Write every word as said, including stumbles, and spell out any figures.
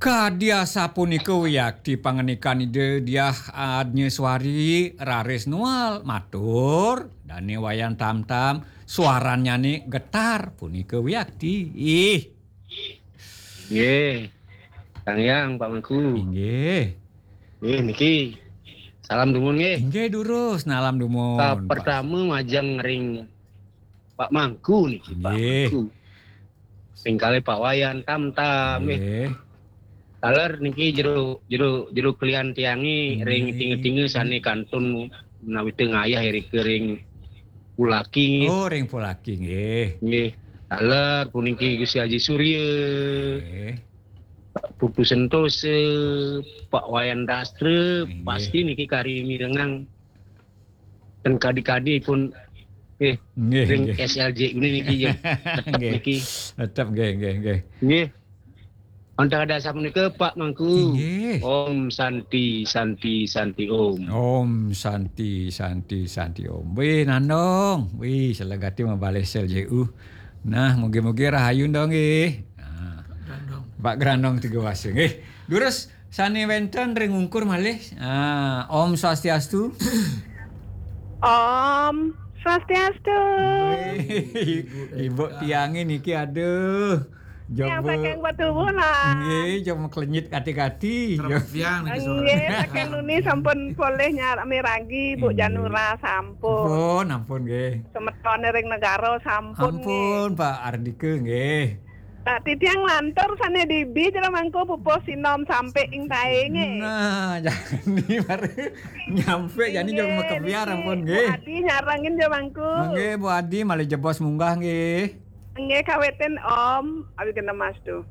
Kadi asapunika wiakti pangandikan Ida Diah Adnyaswari raris nual matur, dane Wayan Tamtam, swarannyane getar punika wiakti. Ih. Nggih. Kang Yang, Pak Mangku. Inggih. Nggih, niki. Salam dumun nggih. Inggih, durus, nalam dumun, Pak. Pertama majeng ring Pak Mangku niki, Pak Mangku. Sing kalih Pak Wayan Tamtam nggih. Nggih. Taler niki jero, jero, jero klian tiange ring tinga-tinga sane kantun menawi tengayah irika ring Pulaki nggih. Oh, ring Pulaki nggih. Nggih. Taler puniki Gusti Haji Surya. Nggih. Pak Putu Sentosa, Pak Wayan Dastra, nggih. Pasti niki kari mirengang dan kadi-kadi pun eh, nggih, ring nggih. S L J ini niki ya. Tetep nggih. Niki. Tetep nggih, nggih, nggih. Nggih. Wonten asapunika Pak Mangku. Inggih. Om Santi, Santi, Santi Om. Om Santi, Santi, Santi Om. Wih, Nandong. Wih, selegati mabalih S L J U. Nah, mugi-mugi rahayu ndong nggih. Nah. Pak Grandong tiga wasa nggih. Durus sane wenten ring ungkur malih. Ah, Om Swastiastu. Om Swastiastu. Wih, Ibu tiange niki aduh. Yang saking Batuwuh lah. Nggih, jog maklenyit kati-kati. Terus tiang niki sore. Nggih, saking nuni sampun polih nyar-, miragi, Bu Janura sampun. Ampun, ampun nggih. Semetone ring negara sampun nggih. Ampun, Pak Ardika nggih. Nah, titiang lantur sane dibi jero mangku pupuh sinom sampe ing taenge. Nah, jani baru nyampe jani jog makebyar ampun nggih. Bu Adi nyarengin jero mangku. Nggih, Bu Adi malih jebos munggah nggih. Nggih, kawetin Om, awigandhamastu.